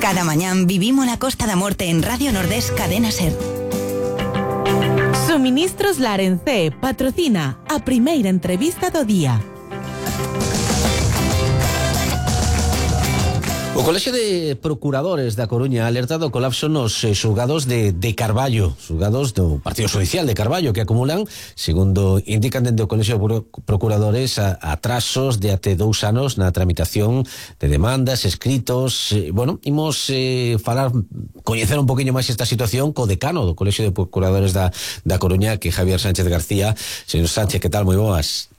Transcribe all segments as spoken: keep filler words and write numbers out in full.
Cada mañán vivimos la Costa da Morte en Radio Nordés Cadena Ser. Suministros Larencé patrocina a primeira entrevista do día. O Colexio de Procuradores da Coruña ha alertado o colapso nos eh, xulgados de, de Carballo, xulgados do Partido Judicial de Carballo, que acumulan, segundo indican dende o Colexio de Procuradores, a, atrasos de até dous anos na tramitación de demandas, escritos. Eh, bueno, imos eh, falar, coñecer un poquinho máis esta situación co decano do Colexio de Procuradores da, da Coruña, que é Javier Sánchez García. Señor Sánchez, que tal? Moi boas.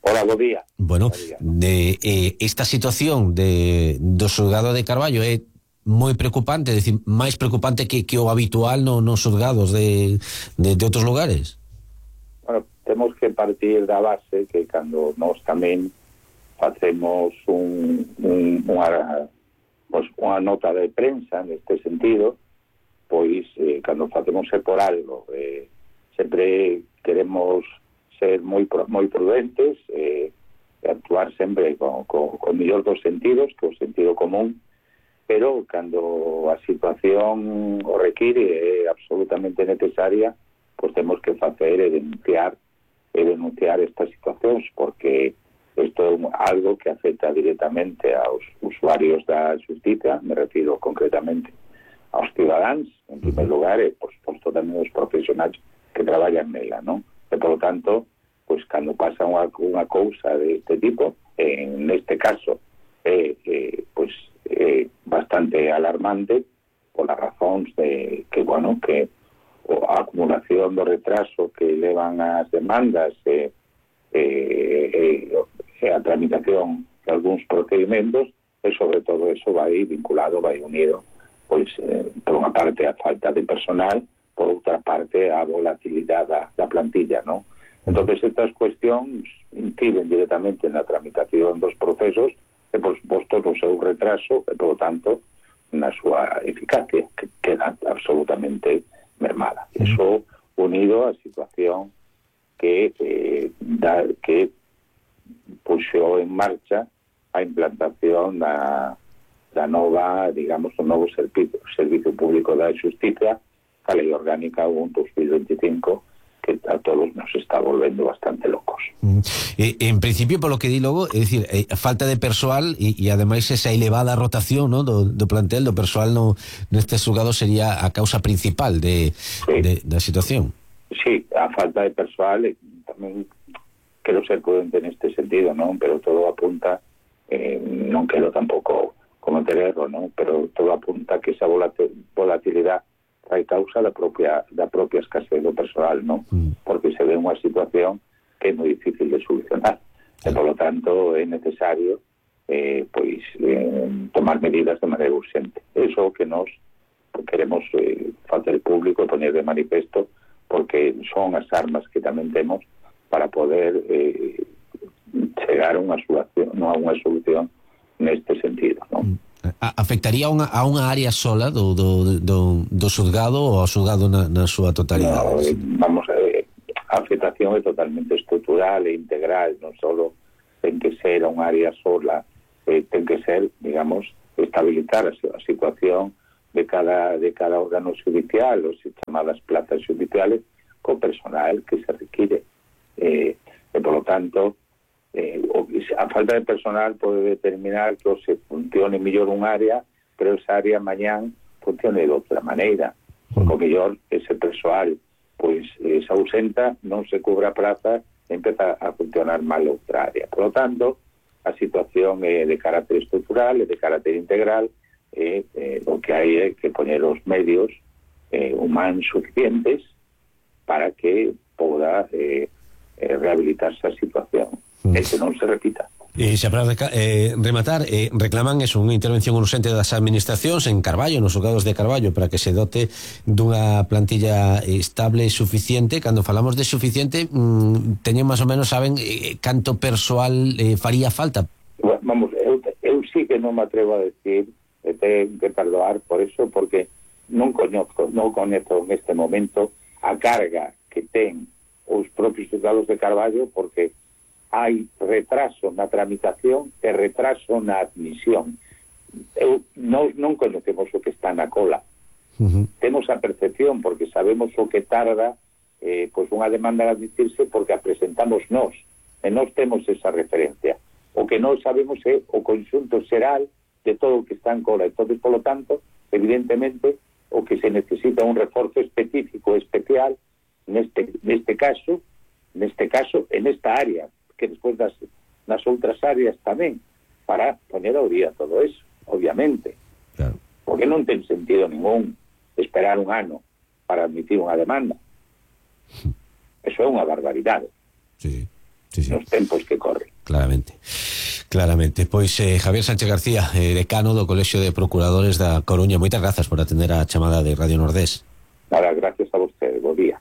Hola, bo día. Bueno, día. de, eh, esta situación de, do xulgado de Carballo é moi preocupante, é dicir, máis preocupante que, que o habitual no, nos xulgados de, de, de outros lugares. Bueno, temos que partir da base que cando nós tamén facemos un, un, unha, pues, unha nota de prensa neste sentido, pois eh, cando facemos é por algo, eh, sempre queremos ser moi moi prudentes, eh, actuar sempre con, con, con mellor dos sentidos, que o sentido común, pero cando a situación o require é absolutamente necesaria, pois temos que facer e denunciar e denunciar estas situacións, porque isto é algo que afecta directamente aos usuarios da xustiza, me refiro concretamente aos cidadáns, en primer lugar, e, por suposto, tamén os profesionais que traballan nela, non? E, por lo tanto, pues cando pasa unha, unha cousa deste tipo, en este caso, é eh, eh, pues, eh, bastante alarmante por as razóns de que, bueno, que a acumulación do retraso que levan as demandas e eh, eh, eh, a tramitación de algúns procedimentos, e sobre todo eso vai vinculado, vai unido, pois, eh, por unha parte a falta de personal, por outra parte a volatilidade da, da plantilla, non? Entonces estas cuestións inciden directamente na tramitación dos procesos e, por suposto, no seu retraso e, por lo tanto, na súa eficacia, que queda absolutamente mermada. Eso unido á situación que eh, da, que puxou en marcha a implantación da, da nova, digamos, o novo servicio, servicio público da xustiza, a Lei Orgánica un dos mil veinticinco, que a todos nos está volvendo bastante locos. Mm. Eh, en principio, por lo que di logo, é dicir, eh, falta de persoal e, e ademais esa elevada rotación, ¿no? do, do plantel, do persoal no, neste xulgado sería a causa principal de, sí. de, da situación. Sí, a falta de persoal, eh, tamén quero ser prudente neste sentido, non? Pero todo apunta, eh, non quero tampouco cometer erro, non? Pero todo apunta que esa volatilidade hai causa da propia da propia escasez do personal, non? Mm. Porque se ve unha situación que é moi difícil de solucionar. E, por lo tanto, é necesario eh, pois eh, tomar medidas de maneira urgente. Eso que nos queremos eh, facer público e poner de manifesto, porque son as armas que tamén temos para poder eh, chegar a unha solución, non a unha solución neste sentido, non? Mm. Afectaría a unha, a unha área sola do, do, do, do xulgado ou ao xulgado na, na súa totalidade? No, vamos a ver, a afectación é totalmente estrutural e integral, non só ten que ser a unha área sola, eh, ten que ser, digamos, estabilizar a, a situación de cada de cada órgano judicial, ou se chamadas plazas judiciales, co personal que se require. Eh, e, por lo tanto, Eh, a falta de personal pode determinar que se funcione mellor un área, pero esa área mañán funcione de outra maneira, porque o mellor ese persoal pois eh, se ausenta, non se cubre a praza e empeza a funcionar mal outra área. Por lo tanto, a situación é de carácter estrutural, é de carácter integral, e eh, o que hai é que poñer os medios eh, humanos suficientes para que poda eh, eh, rehabilitarse a situación. E que non se repita. E xa para eh, rematar, eh, reclaman eso, unha intervención urgente das administracións en Carballo, nos xulgados de Carballo, para que se dote dunha plantilla estable e suficiente. Cando falamos de suficiente, mmm, teñen máis ou menos, saben eh, canto persoal eh, faría falta? Bueno, vamos, eu, eu sí que non me atrevo a decir, e ten que perdoar por eso, porque non coñezco, non coñezo en este momento a carga que ten os propios xulgados de Carballo, porque hai retraso na tramitación e retraso na admisión. Eu non, non conocemos o que está na cola. Uh-huh. Temos a percepción porque sabemos o que tarda eh, pois unha demanda a admitirse porque a presentamos nós, e nós temos esa referencia. O que non sabemos é o conxunto xeral de todo o que está en cola. Entón, polo tanto, evidentemente, o que se necesita un reforzo específico, especial, neste, neste caso, neste caso, en esta área, que despois das, nas outras áreas tamén, para poner ao día todo eso, obviamente. Claro. Porque non ten sentido ningún esperar un ano para admitir unha demanda. Eso é unha barbaridade. Sí, sí, sí. Nos tempos que corren. Claramente. Claramente. Pois eh, Javier Sánchez García, eh, decano do Colexio de Procuradores da Coruña, moitas grazas por atender a chamada de Radio Nordés. Nada, gracias a vostede. Bo día.